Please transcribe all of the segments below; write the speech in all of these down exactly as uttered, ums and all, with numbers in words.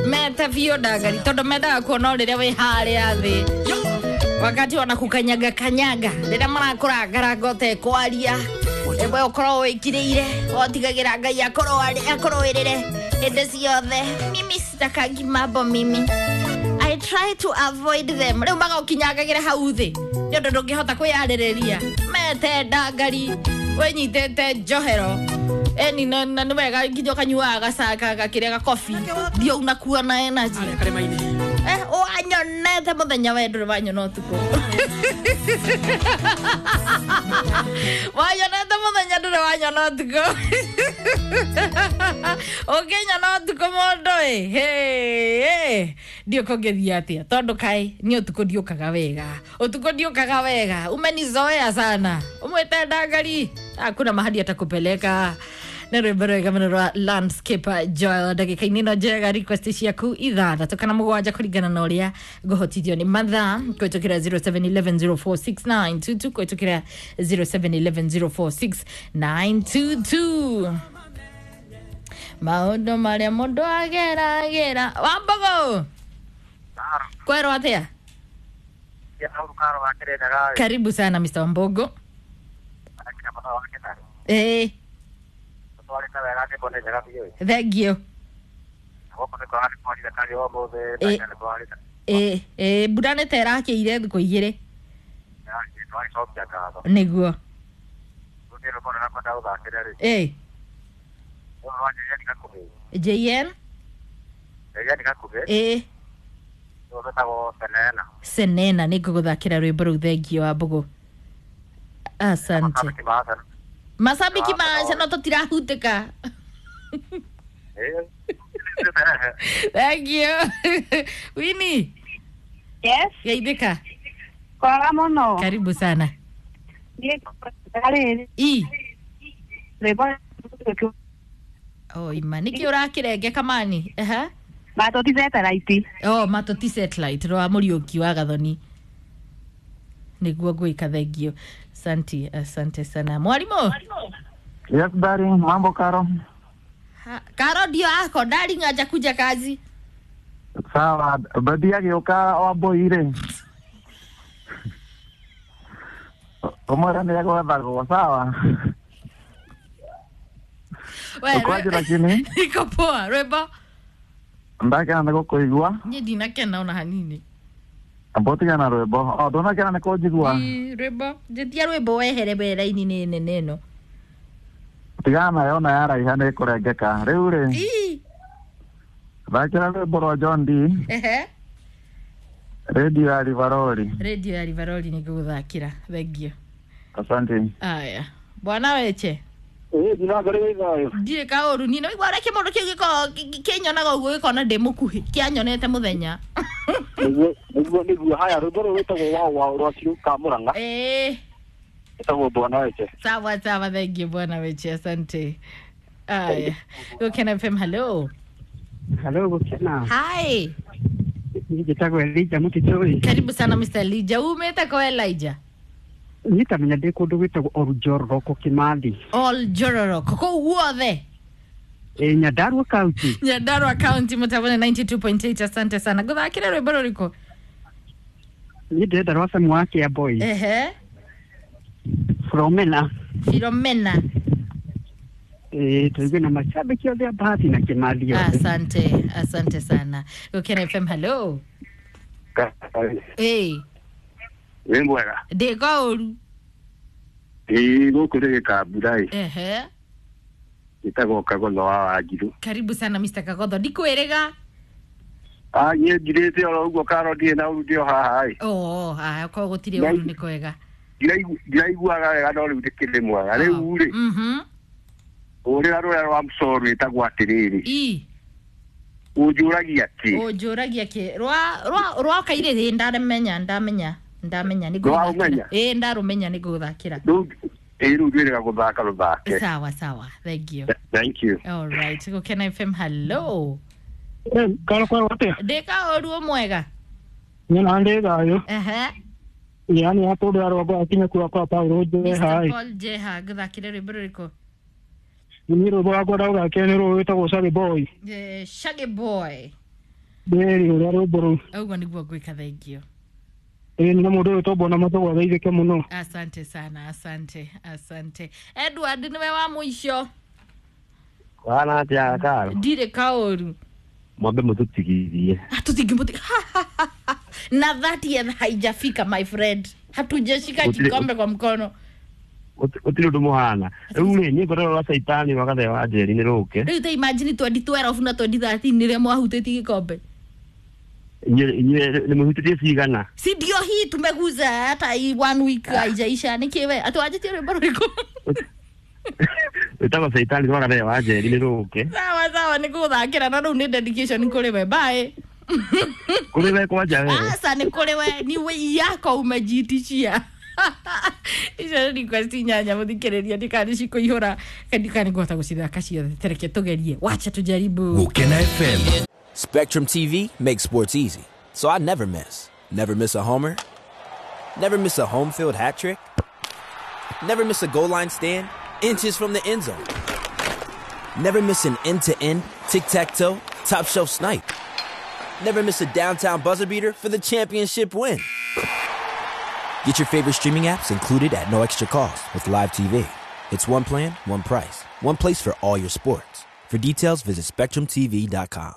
Mete biũ ndangari tondũ mendaga kuona rĩrĩa wĩ harĩa thĩ wakati wanakukanyaga kanyaga rĩrĩa marakũrangaranga ũtekwaria ĩmwe ũkorwo wĩkirĩire wotigagĩra Ngai akũrũĩrĩre hĩndĩ ciothe. Mimi sitakangi mambo mimi, I try to avoid them. Rĩu magũkinyangagĩra hau thĩ nĩ ũndũ ndũngĩhota kwĩyarĩrĩria. Mete ndangari wĩnyitĩte njohero eni na na nĩ wega nginya ũkanyuaga gacaka gakĩrĩa gakobi ndio unakuwa na energy. Eh, wanyonete mũthenya we ndũrĩ wanyona ũtukũ. Wanyonete mũthenya ndũrĩ wanyona ũtukũ. Ũngĩnyona ũtukũ mũndũ ĩ hĩ ndiũ kũngĩthiĩ atĩa tondũ kaĩ niĩ ũtukũ ndiũkaga wega ũtukũ ndiũkaga wega umenizoea sana umwĩte ndangari hakuna mahali atakupeleka. Nĩ rwĩmbo rwega mũno rwa Landscape Joel ndagĩka-inĩ ĩno njega request ciaku ithathatũ kana mũgwanja kũringana na ũrĩa ngũhotithio nĩ mathaa kũhĩtũkĩra zero seven one one zero four six nine two two kũhĩtũkĩra zero seven one one zero four six nine two two. Maũndũ marĩa mũndũ ageragĩra. Wambogo kwerwo atĩa? Karibu sana Mister Wambogo. Eh, thank you. Eh, eh, eh, mbura nĩ ta ĩrakĩire thikũ igĩrĩ nĩguo. Eh, J N eh Senena nĩ ngũgũthakĩra rwĩmbo rũu thengio wa Mbogo. Asante. Masabiki maca no tũtirahutĩka. Thank you. Winnie. Yes. Geithĩka. Kwaga mũno. Karibu sana. Niĩ I. rwĩmbo Oh, ima nĩkĩ ũrakĩrenge kamani? Aha. Matoti satellite. Oh, Matoti satellite rwa Mũriũki wa Gathoni. Nĩguo ngwĩka thengio. Asante, asante sana. Mwalimu. Yes, darling, mambo Karo? Ha, Karo ndio ako darling hajakuja kazi. Sawa, bathi agĩũka wambũi-rĩ. Ũmwĩre nĩ egwethagwo, sawa? We, Ũkwaje lakini? Niko poa, rwĩmbo. Ndakena nĩ gũkũigua. Niĩ ndinakena ona hanini. Amba ũtigane na rwĩmbo. O, ndũnakena nĩ kũnjigua? Ĩ, rwĩmbo. Njĩtia rwĩmbo wehere wera-inĩ nĩ nene ĩno. Tigana nayo ona yaraiha nĩ ĩkũrengeka. Rĩu rĩ, Ĩ. thakĩra rwĩmbo rwa John D. Ehe. Radio ya Rivaroli. Radio ya Rivaroli nĩ ngũgũthakĩra. Thengio. Asante. Aya. Bwana Weche. Ĩĩ ndinangari wĩ thayũ. Ndirĩ kaũru niĩ nĩwaigua ũrĩa kĩmũndũ kĩu gĩkoragwo kĩnyonaga ũguo gĩkona ndĩ mũkuhĩ kĩanyonete mũthenya. Nĩguo nĩguo nĩguo haya rwĩmbo rũrũ rwĩtagwo wao wao rwa Ciũka Mũrang'a. Ĩĩ. Ĩtagwo Bwana Weche. Sawa sawa, thank you Bwana Weche, asante. Aya. Gũkena F M, hello. Hello, Gũkena. Hi. Niĩ njĩtagwo Elijah Mũtitũ. Karibu sana Mister Elijah. Umĩte kwa Elijah? Niĩ tamenya ndĩ kũndũ gwĩtagwo Oljororoko Kĩmathi. Oljororoko kũu guothe. Ĩ Nyandarua County. Nyandarua County mũtabone ninety two point eight. Asante sana. Ngũthakĩre rwĩmbo rũrĩkũ? Niĩ ndĩrenda rwa Sam wa Kia Boy. Ehe. Filomena. Filomena. Ĩ tũigue na mashabiki othe a Bahati na Kĩmathi othe. Asante, asante sana. Gũkena F M, hello. Ĩ. Wĩ mwega? Ndĩ kaũru. Ĩĩ gũkũ nĩ gĩkambura ĩ. Ehe. Gĩtagwo Kagotho wa Wanjiru. Karibu sana Mister Kagotho. Ndikwĩrĩga. Ah, niĩ njirĩte oro ũguo Karo ndirĩ na ũru ndĩ o haha ĩ. Oh, haya korwo gũtirĩ ũru nĩ kwega. Ndiraiguaga wega no rĩu ndĩkĩrĩ mwega. Rĩu rĩ. Mhm. Ũrĩra rũrĩa rwa Msoro rwĩtagwo atĩrĩrĩ. I. Ũnjũragia kĩ? Ũnjũragia kĩ? Rwa rwa rwa kairĩ ndamenya ndamenya ndamenya nĩ ngũthakĩra. Ĩ ndarũmenya nĩ ngũthakĩra. Rĩu ĩ rĩu ndwĩrĩga gũthaka rũthake. Sawa sawa, thank you. Thank you. All right, Gũkena F M, hello. Karo kwerwo atĩa? Ndĩ kaũru ũmwega. Niĩ na ndĩ thayũ. Ehe. Yani hapo ndo arwa akinya kuwa kwa Paulo Jeha. Mister Paul Jeha ngũthakĩre rwĩmbo rũrĩkũ? Ni rwĩmbo rwakwa ndagũthakĩra nĩ rũrũ rwĩtagwo Shaggy Boy. Eh, Shaggy Boy. Ndĩrĩ ũrĩa rwĩmbo rũu. Ũguo nĩguo ngwĩka, thengio. Ĩĩ, na mũndũ ũyũ tũmbona matũgwa geithĩke mũno. Asante sana, asante, asante. Edward, nĩwe wa mũico. Wana atia karo? Ndirĩ kaũru. Mwambe mũtũtigithie. Hatutingimũti na thirtieth haijafika, my friend, hatujashika Utile- kikombe kwa mkono. Gũtirĩ ũndũ mũhana. Rĩu rĩ, niĩ ngorero rwa caitani rwa Gathee wa Njeri nĩ rũke. Rĩu ta imagine twenty twelve na twenty thirteen nĩrĩa mwahutĩtie gĩkombe. Inyuĩ inyuĩ nĩ mũhutĩtie cigana? Si ndio hii tumeguza, hata hii one week haijaisha. Nĩkĩwe atwanjĩtie rwĩmbo rũrĩkũ? Wĩtagwo caitani rwa Gathee wa Njeri nĩ rũke. Sawa sawa, nĩ gũthakĩra na rĩu nĩ dedication kũrĩ we, bye. Kũrĩ we kwanja we. Asa, nĩ kũrĩ we, ni we yako umejitishia. Icio nĩ request inyanya, mũthikĩrĩria, ndikani cikũihũra ndikani ngũhota gũcithaka ciothe. Tereke tũgerie, wacha tujaribu. Gukena F M. Spectrum T V makes sports easy, so I never miss. Never miss a homer. Never miss a home field hat trick. Never miss a goal line stand, inches from the end zone. Never miss an end to end, tic tac toe, top shelf snipe. Never miss a downtown buzzer beater for the championship win. Get your favorite streaming apps included at no extra cost with Live T V. It's one plan, one price, one place for all your sports. For details, visit Spectrum T V dot com.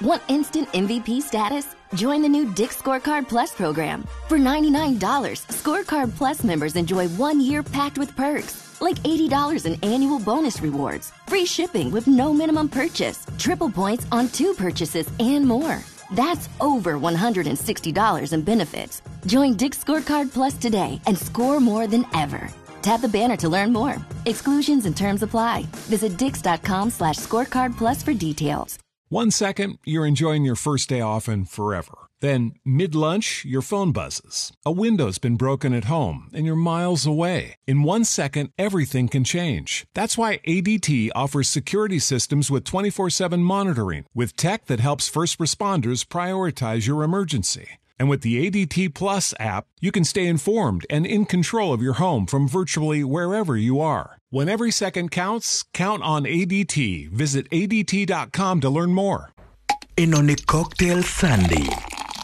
Want instant M V P status? Join the new Dick's Scorecard Plus program. For ninety-nine dollars, Scorecard Plus members enjoy one year packed with perks, like eighty dollars in annual bonus rewards, free shipping with no minimum purchase, triple points on two purchases, and more. That's over one hundred sixty dollars in benefits. Join Dick's Scorecard Plus today and score more than ever. Tap the banner to learn more. Exclusions and terms apply. Visit dicks dot com slash scorecard plus for details. One second, you're enjoying your first day off and forever. Then, mid lunch, your phone buzzes. A window's been broken at home and you're miles away. In one second, everything can change. That's why A D T offers security systems with twenty-four seven monitoring, with tech that helps first responders prioritize your emergency. And with the A D T Plus app, you can stay informed and in control of your home from virtually wherever you are. When every second counts, count on A D T. Visit A D T dot com to learn more. Ĩno nĩ Cocktail Sunday.